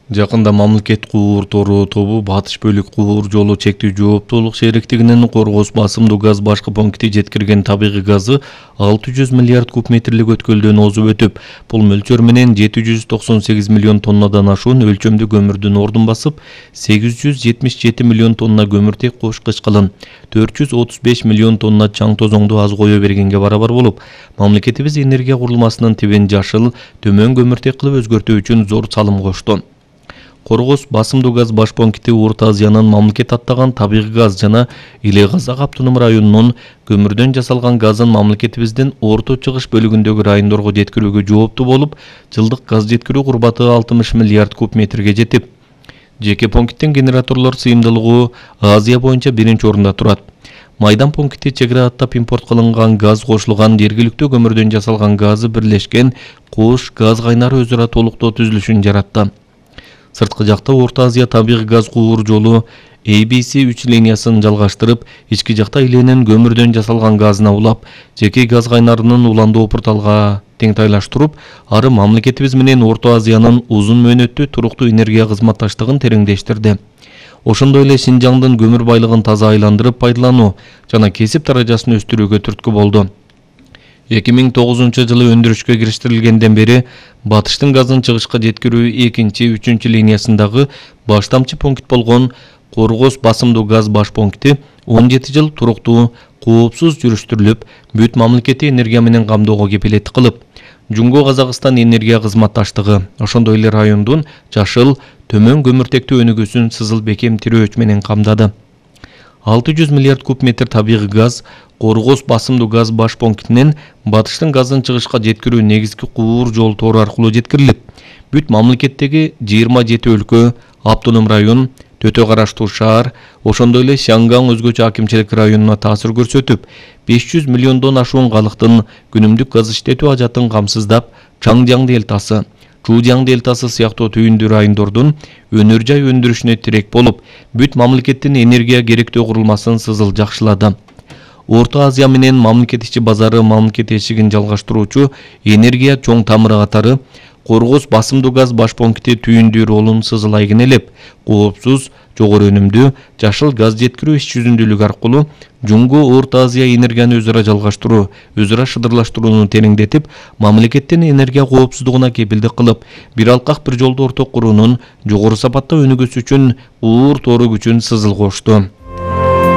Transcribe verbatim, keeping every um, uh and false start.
Жакында мамлекет куур тору тобу Батыш бөлүк куур жолу чектүү жооптуулук шериктигинин Коргоз басымдуу газ башкы пункти жеткирген табигый газы алты жүз миллиард куб метрлик өткөлдөн озуп өтүп, бул мөлчөр менен жети жүз токсон сегиз миллион тоннадан ашуун өлчөмдүү көмүрдүн ордун басып, сегиз жүз жетимиш жети миллион тонна көмүртек кош кычкылын, төрт жүз отуз беш миллион тонна чаң тозоңду аз кое бергенге барабар болуп, мамлекетибиз энергия курулмасынын тибин жашыл, төмөн көмүртек кылып өзгөртүү үчүн зор салым кошту. Коргоз басымдуу газ баш пункти Орто Азиянын мамлекет аттаган табигый газ жана Иле Казак автоном районунун көмүрдөн жасалган газын мамлекетибиздин орто чыгыш бөлүгүндөгү райондорго жеткирүүгө жооптуу болуп, жылдык газ жеткирүү курбаты алтымыш миллиард куб метрге жетип, жеке пункттин генераторлор сыйымдуулугу Азия боюнча биринчи орунда турат. Майдан пункти чек ара аттап импорт кылынган газ кошулган жергиликтүү көмүрдөн жасалган газы бирлешкен кош газ кайнары өзара толуктоо түзүлүшүн жаратты. Сырткы жакта Орто Азия табигый газ куур жолу A B C үч линиясын жалгаштырып, ички жакта Иленин көмүрдөн жасалган газына улап, жеке газ кайнарынын уландоо порталга теңтайлаштырып, ары мамлекетибиз менен Орто Азиянын узун мөөнөттүү туруктуу энергия кызматташтыгын тереңдештирди. Ошондой эле Шинжаңдын көмүр байлыгын таза айландырып пайдалануу жана кесип даражасын өстүрүүгө түрткү болду. эки миң тогузунчу жылы өндүрүшкө кириштирилгенден бери Батыштын газын чыгышка жеткирүү экинчи, үчүнчү линиясындагы баштамчы пункт болгон Коргоз басымдуу газ баш пункти он жети жыл туруктуу, коопсуз жүрүштүрүлүп, бүт мамлекетти энергия менен камдоого кепилеттик кылып, Жумго Казакстан энергия кызматташтыгы, ошондой эле райондун жашыл, төмөн көмүртектүү өнүгүүсүн сызыл бекем тирөөч менен камдады. алты жүз миллиард куб метр табигый газ Коргоз басымдуу газ баш пунктинен Батыштын газын чыгышка жеткирүү негизги куур жол тору аркылуу жеткирилип, бүт мамлекеттеги жыйырма жети өлкө, автоном район, төтө караштуу шаар, ошондой эле Шанган өзгөчө акимчилик районуна таасир көрсөтүп, беш жүз миллиондон ашуун калктын күнүмдүк газ иштетүү ажатын камсыздап, Чаңжаң дельтасы, Чужаң дельтасы сыяктуу түйүндүү райондордун өнөр жай өндүрүшүнө тирек болуп, бүт мамлекеттин энергия керектөө курулмасын сызыл жакшылады. Орто Азия менен мамлекет ичи базары мамлекет эшигин жалгаштыруучу энергия чоң тамыры катары Коргоз басымдуу газ баш пункти түйүндүү ролун сызылай кенелеп, коопсуз, жогору өнүмдүү, жашыл газ жеткирүү иш жүзүндүүлүк аркылуу Жумго Орто Азия энергияны өзара жалгаштыруу, өзара шыдырлаштырууну тереңдетип, мамлекеттин энергия коопсуздугуна кепилдик кылып, бир алкак бир жолду орток куруунун жогору сапатта өнүгүүсү үчүн уур тору күчүн сызыл кошту.